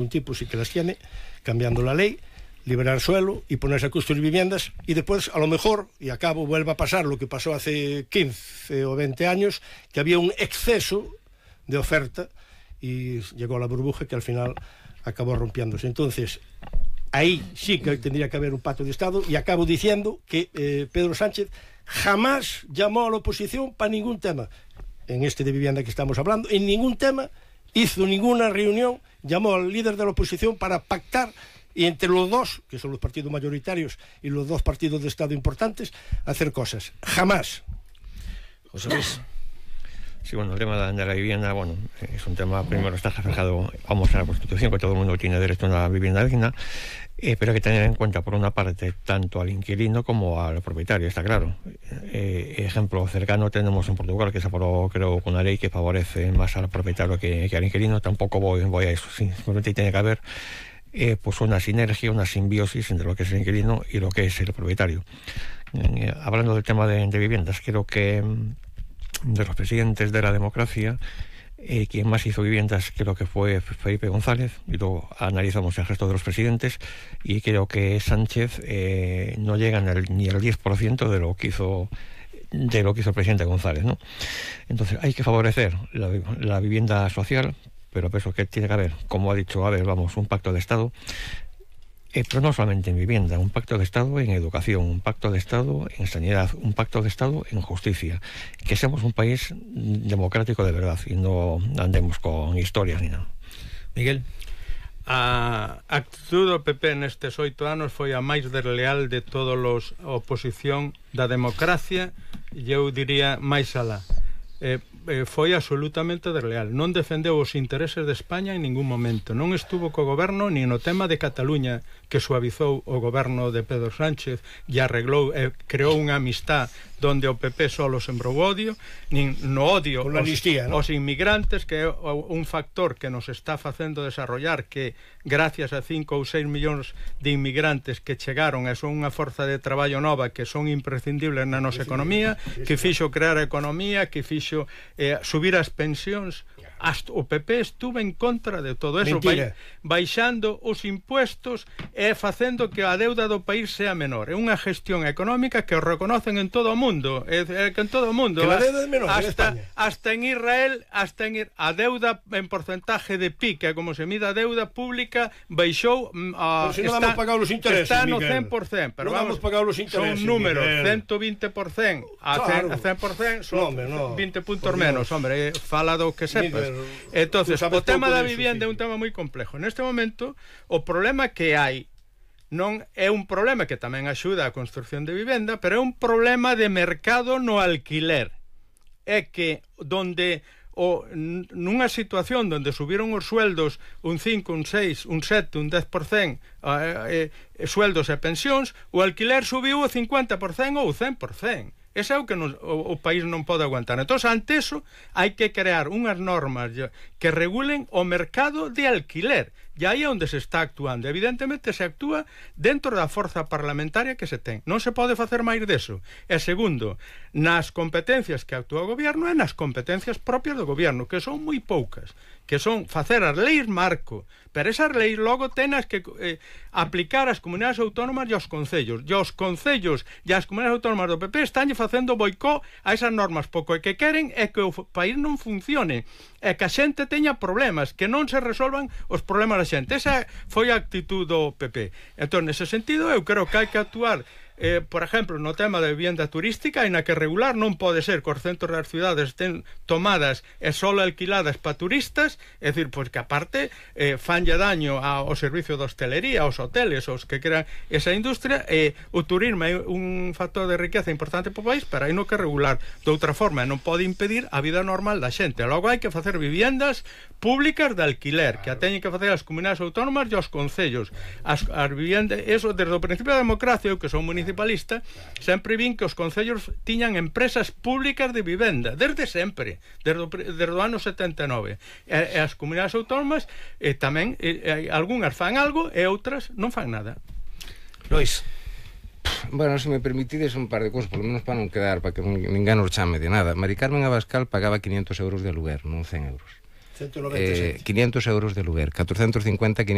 un tipo sí que las tiene, cambiando la ley, liberar suelo y ponerse a construir viviendas, y después a lo mejor, y acabo, vuelva a pasar lo que pasó hace 15 o 20 años, que había un exceso de oferta y llegó la burbuja que al final acabó rompiéndose. Entonces, ahí sí que tendría que haber un pacto de Estado, y acabo diciendo que Pedro Sánchez jamás llamó a la oposición para ningún tema. En este de vivienda que estamos hablando, en ningún tema hizo ninguna reunión, llamó al líder de la oposición para pactar, y entre los dos, que son los partidos mayoritarios y los dos partidos de Estado importantes, hacer cosas. Jamás. José Luis. Sí, bueno, el tema de la vivienda, bueno, es un tema, primero está reflejado, vamos, en la Constitución, que todo el mundo tiene derecho a una vivienda digna, pero hay que tener en cuenta, por una parte, tanto al inquilino como al propietario, está claro. Ejemplo cercano tenemos en Portugal, que se aprobó, creo, con una ley que favorece más al propietario que al inquilino. Tampoco voy a eso, simplemente tiene que haber pues una sinergia, una simbiosis entre lo que es el inquilino y lo que es el propietario. Hablando del tema de viviendas, creo que de los presidentes de la democracia, quien más hizo viviendas creo que fue Felipe González, y luego analizamos el resto de los presidentes, y creo que Sánchez no llega ni al 10% de lo que hizo el presidente González, ¿no? Entonces hay que favorecer la vivienda social, pero eso que tiene que haber, como ha dicho, vamos, un pacto de Estado, pero no solamente en vivienda, un pacto de Estado en educación, un pacto de Estado en sanidad, un pacto de Estado en justicia, que seamos un país democrático de verdad y no andemos con historias ni nada. Miguel. A actitud do PP nestes 8 anos foi a máis desleal de todos os oposición da democracia, e eu diría máis alá. Foi absolutamente desleal, non defendeu os intereses de España en ningún momento, non estuvo co goberno ni no tema de Cataluña, que suavizou o goberno de Pedro Sánchez e arreglou, creou unha amistad donde o PP solo sembrou odio, nin no odio aos inmigrantes, que é un factor que nos está facendo desarrollar, que gracias a 5 ou 6 millóns de inmigrantes que chegaron e son unha forza de traballo nova que son imprescindibles na nosa economía, que fixo crear a economía, que fixo subir as pensións. O PP estuvo en contra de todo eso, baixando os impuestos e facendo que a deuda do país sea menor. É unha gestión económica que o reconocen en todo o mundo, que en todo o mundo, que a deuda é menor hasta en Israel, a deuda en porcentaje de PIB, que é como se mide a deuda pública, baixou si no vamos pagar os intereses, está no Miguel. 100%, pero no vamos pagar os intereses, son números, Miguel. 120% a 100% son 20 puntos menos, hombre, fala do que sepas. Entonces, o tema da vivienda é un tema moi complejo. Neste momento, o problema que hai non é un problema que tamén axuda a construcción de vivenda, pero é un problema de mercado no alquiler. É que donde nunha situación onde subiron os sueldos un 5, un 6, un 7, un 10% sueldos e pensións, o alquiler subiu o 50% ou o 100%. Ese é o que o país non pode aguantar. Entón, ante eso, hai que crear unhas normas que regulen o mercado de alquiler. E aí é onde se está actuando. Evidentemente, se actúa dentro da forza parlamentaria que se ten. Non se pode facer máis deso. E segundo, nas competencias que actúa o goberno e nas competencias propias do goberno, que son moi poucas, que son facer as leis marco, pero esas leis logo tenas que aplicar ás comunidades autónomas e aos concellos. E os concellos e as comunidades autónomas do PP están facendo boicot a esas normas. Pouco que queren é que o país non funcione, é que a xente teña problemas, que non se resolvan os problemas da xente. Esa foi a actitud do PP. Entón, nese sentido, eu creo que hai que actuar por exemplo, no tema da vivienda turística, en a que regular non pode ser que os centros das cidades estén tomadas e só alquiladas para turistas, é dicir, pois que aparte fanlle daño ao servicio de hostelería, aos hoteles, aos que crean esa industria, o turismo é un factor de riqueza importante para o país, pero hai no que regular de outra forma, non pode impedir a vida normal da xente. Logo hai que facer viviendas públicas de alquiler, que a teñen que facer as comunidades autónomas e os concellos. As viviendas, eso desde o principio da democracia, que son municipalista, sempre vin que os concellos tiñan empresas públicas de vivenda, desde sempre, desde o ano 79. E as comunidades autónomas tamén, algunhas fan algo e outras non fan nada. Lois. Bueno, se me permitides un par de cosas, por lo menos para non quedar, para que ninguén nos chame de nada. Mari Carmen Abascal pagaba 500 euros de aluguer, non 100 euros. 196. 500 euros de aluguer, 450, 500